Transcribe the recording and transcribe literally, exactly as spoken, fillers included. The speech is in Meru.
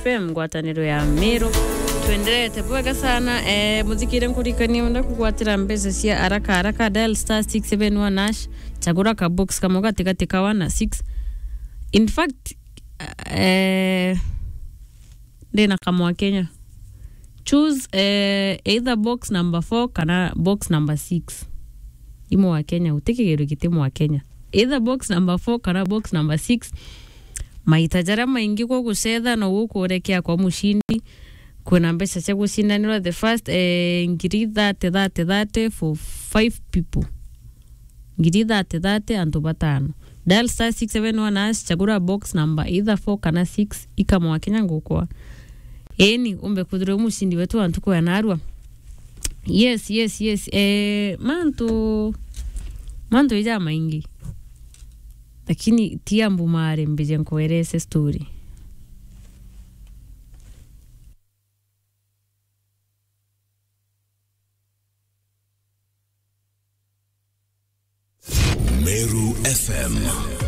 M, ngwataniro ya Meru. Twenderete bwega sana. Eh, muthikire nkurikania, wenda kugwatira mbeca cia haraka haraka, dial star six seven one hash, chagura ka box kamwe gatigati ka one na six. In fact, eh, ndina kamwa Kenya. Choose, eh, either box number four kana box number six. I mwa Kenya, uti kigiro giti mwa Kenya. Either box number four kana box number six. Maita jaria maingi gugucetha no gukurekia kwa mucindi. Kwina mbeca cia gucindanirwa, the first, eh, ngiri thirty, thirty, thirty for five people. Ngiri thirty, thirty, antu batano. Dial star six seven one hash, chagura box number either four kana six, ikamwa Kenya ngukwa. Eni, umbe kwithirwa mucindi wetu wa ntuku ya narua. Yes, yes, yes. Eh, mantu, mantu ija maingi. Lakini ti ambu mare mbije nkuerese story. Meru F M.